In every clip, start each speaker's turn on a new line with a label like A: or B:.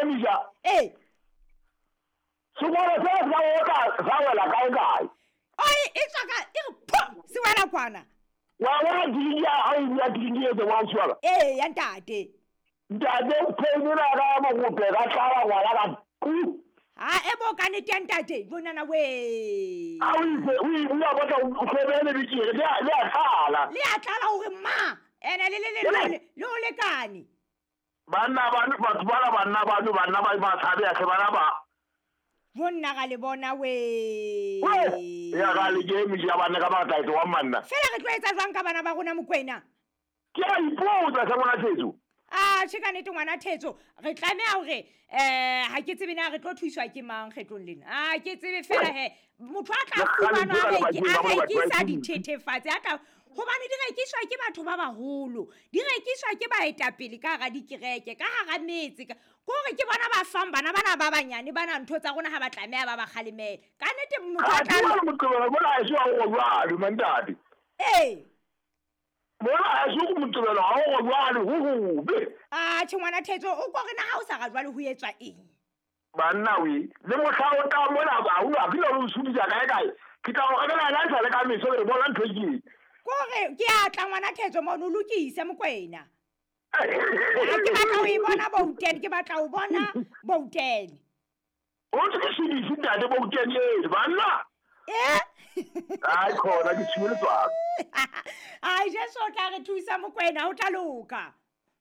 A: emisa.
B: Ee.
A: Sekolo se sa otla sa wela kae kae.
B: Oi, e tswa ka e re pho se wela kwana.
A: Wa bona diliki ya hao ya diliki e tse wa tshwara.
B: Ee, ya ntate.
A: Ntate o phone ka mogope ka tlala ngwana ka ku.
B: Ha e bo ka nete ya ntate, bonana we.
A: A o itse o o ya batla o tlhobele bitjere le a tlala.
B: Le a tlala hore ma ene le le le le le o lekane.
A: Banna ba batho bana banna ba banna ba ba tshabe ya bana ba.
B: Bonna ga le bona we.
A: Ya ga le ke mi ya bana ka ba tla wa manna.
B: Fela re tlo etsa jwang ka bana ba rona Mokwena?
A: Ke a ipotsa sa ngwana Thetso.
B: Ah, che ka nnete ngwana Thetso, re tlameha hore ha ke tsebe na re tlo thuswa ke mang kgetlong lena. Ah, ke tsebe fela he motho a tla fumanwa a rekisa dithethefatsi a tla hobane di rekiswa ke batho ba baholo, di rekiswa ke baetapele ka hara dikereke, ka hara metse, kore ke bona ba fang bana bana ba banyane bana ntho tsa rona ha ba tlameha ba ba kgalemele. Ka nnete motho a tla
A: moqebelo bona ha se wa go jwalo mantate.
B: Ee.
A: Bona ha se go moqebelo ha go jwalo ho hobe.
B: Ah, che ngwana Thetso o ko re na ha o sa ga jwalo ho etswa eng?
A: Banna we, le mohla o tla mona ba o a kile o sudisa kae kae. Ke tla o rekela la sa le ka meso re bona ntho e.
B: Kore ke a tla ngwana Thetso mono lokise Mokwena. Ke batla ho e bona Bouten, ke batla ho bona Bouten.
A: O ntse ke sudise ntate Bouten e banna.
B: Eh?
A: Ai khona ke tshwele tswa.
B: Ai Jesu o tla re thusa Mokwena o tla loka.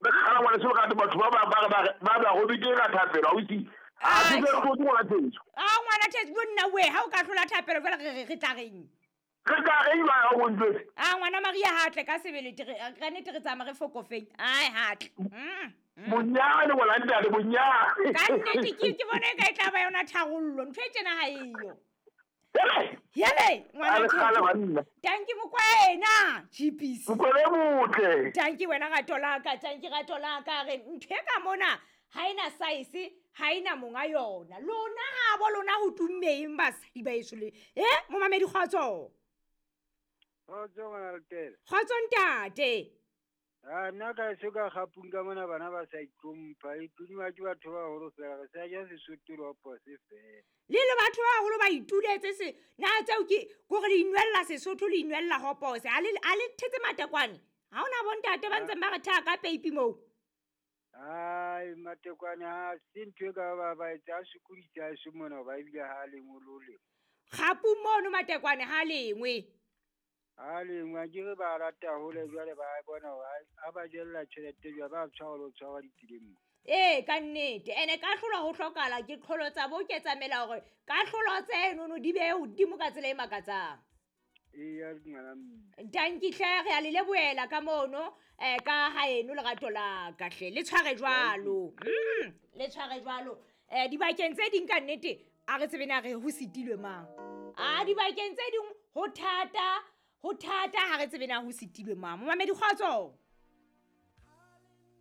A: Re kgala ngwana se ka batho ba ba ba ba ba go bitse ka thapelo o itse. A ke re go ngwana Thetso.
B: Ah ngwana Thetso bonna we ha o ka hlola thapelo fela re tla reng.
A: Re tla reng ba go ntse.
B: Ah ngwana Maria ha tle ka sebele ka nnete re tsamaya re fokofeng. Ai ha tle.
A: Bonyane ngwana ntate bonyane.
B: Ka nnete ke bona e ka e tla ba yona tharollo ntho e tjena ha eyo. Yele ngwana Thetso. Tanki Mokwena GPC.
A: Mokwena motle.
B: Tanki wena rato la ka, tanki rato la ka re ntho e ka mona ha ena size, ha ena monga yona. Lona ha bo lona ho tummeng basadi ba eso le. Momamedi kgotso.
C: Kgotso ngwana Letele.
B: Kgotso ntate.
C: Ah nna ka se ka gapung ka mona bana ba sa itlhompha, itudima ke batho ba baholo fela re sa ja Sesotho le opose fela.
B: Le le batho ba baholo ba ituletse se na tseo ke gore le inwella Sesotho le inwella hopose a le thetse matekwane. Ha ona bontate ba ntseng ba re thaka ka peipi moo.
C: Ai matekwane ha se ntho e ka ba ba etsa sokodisa se mona ba ebile ha lengwe lo le.
B: Gapu mono matekwane ha lengwe.
C: Ha lengwe ke re ba rata hole jwale ba bona ha ba jella tjhelete jwa ba tshwara lo tshwara ditseleng mo.
B: Ee ka nnete ene ka hlolwa ho hlokala ke qholo tsa bo ke tsamela hore ka hlolo tseno di be hodimo ka tsela e makatsang.
C: Ee ya ngwana mme.
B: Tanki hle re a le lebohela ka mono ka haeno lerato la ka hle le tshware jwalo. Le tshware jwalo. Dibakeng tse ding ka nnete a re tsebe na re ho sitilwe mang. A dibakeng tse ding ho thata ha re tsebe na ho sitilwe mang. Momamedi kgotso.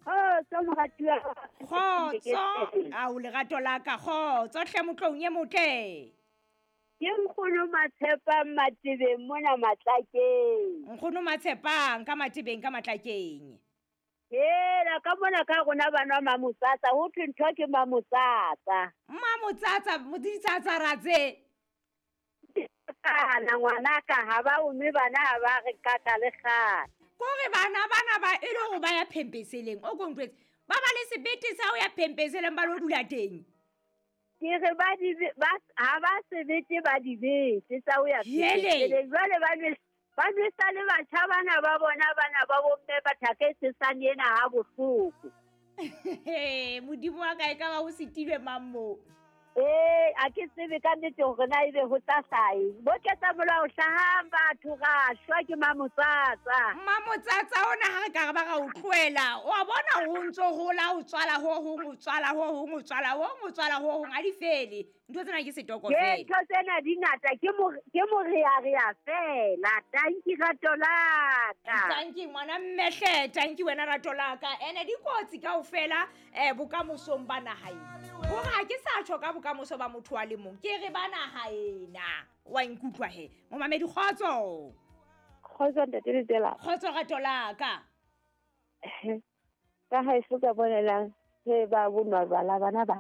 D: Kgotso moratuwa.
B: Kgotso. Ao lerato la ka kgotso hle motlong e motle.
D: Ke nkgono Matshepang Matebeng mona Matlakeng.
B: Nkgono Matshepang ka Matebeng ka Matlakeng.
D: Hela ka mona ka rona bana Mamotsatsa ho thwe ntho ke Mamotsatsa.
B: Mamotsatsa moditsatsa ratse.
D: Kana ngwana ka ha ba o mme bana ha ba re kaka le kgale.
B: Kore bana bana ba e le hore ba ya phempeseleng o kontlwetse ba ba le sebete sa ho ya phempeseleng ba lo dula teng.
D: Ke re ba di ba ha ba sebete ba dibete tsa ho ya phempeseleng jwale ba nwesa le batjha bana ba bona bana ba bomme ba thaka e sesane ena ha bohloko.
B: Modimo wa ka e ka ba ho sitilwe mang moo?
D: A ke tsebe ka nnete hore na ebe ho tla hlaha. Bo ketsa molao hlahang batho ra shwa ke Mamotsatsa.
B: Mamotsatsa ona ha re ka re ba ra o tlohela. O a bona ho ntso hola o tswala ho hong o tswala ho hong o tswala ho hong o tswala ho hong ha di fele. Ntho tsena ke setoko fela.
D: Ntho tsena di ngata ke morearea fela. Tanki rato la ka.
B: Tanki ngwana mmehle, tanki wena rato la ka. Ene dikotsi kaofela bokamosong ba naha ena. Hore ha ke sa tjho ka bokamoso ba motho wa le mong ke re ba naha ena wa nkutlwa he momamedi kgotso.
E: Kgotso ntate Letela.
B: Kgotso rato la ka.
E: Ka ha e se ka bonelang he ba bonwa bala bana ba.